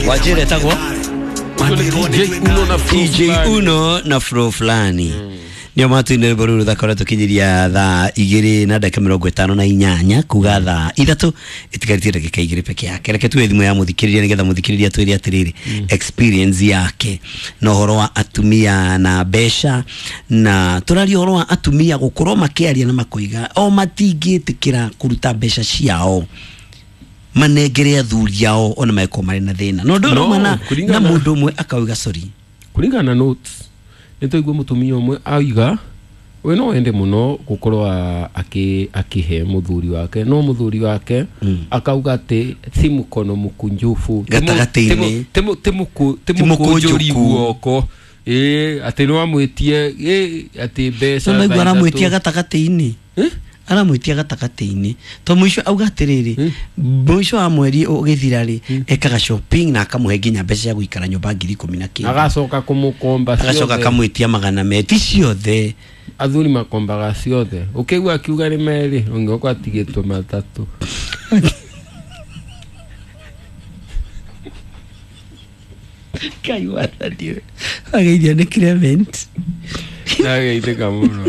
Wajira etagwo DJ Uno na Flow DJ Fulani. Uno na Flow Fulani nio matuine rwimbo rũrũ thakora tũkinyiria thaa igĩrĩ na ndagĩka mĩrongo ĩtano na inyanya kuga thaa ithatũ ĩtigarĩtie ndagĩka igĩrĩ peke yake. Reke tuwe thimũ ya mũthikĩrĩria nĩgetha mũthikĩrĩria twĩre atĩrĩrĩ experience yake na ũhoro wa atumia na mbeca, na tũraria ũhoro wa atumia gũkorwo makĩaria na makoiga o matingĩtĩkĩra kũruta mbeca ciao manengere athuri ao ona mangĩkorwo marĩ na thĩna no ũndũ No, ũrauma na kũringana- mũndũ ũmwe akauga sorry. Kũringana na notes nĩ twaigua mũtumia ũmwe auga we no ende mũno gũkorwo akĩhe mũthuri wake, no mũthuri wake akauga atĩ si mkono mkunjufu, Gatagatĩ-inĩ. ti mũkũnjũri Ti mũkũnjũku. guoko, ĩ atĩ no amwĩtie ĩ atĩ mbeca no maigua thaa aramwĩtia ithatũ. gatagatĩ-inĩ. Eh? Aramwĩtia gatagatĩ-inĩ to mũico auga atĩrĩrĩ, mũico wa mweri ũgĩthira rĩ, ekaga shopping na akamũhe nginya mbeca cia gũikara nyũmba ngiri ikũmi na kĩndũ, agacoka kũmũkomba agacoka ciothe. akamwĩtia magana me ti ciothe. Athuri makombaga ciothe, ũkĩigua akiuga nĩ merĩ, ũngĩoka atigĩtwo matatũ. Ngai wathani ageithia nĩ Clement. Ndageithĩka mũno.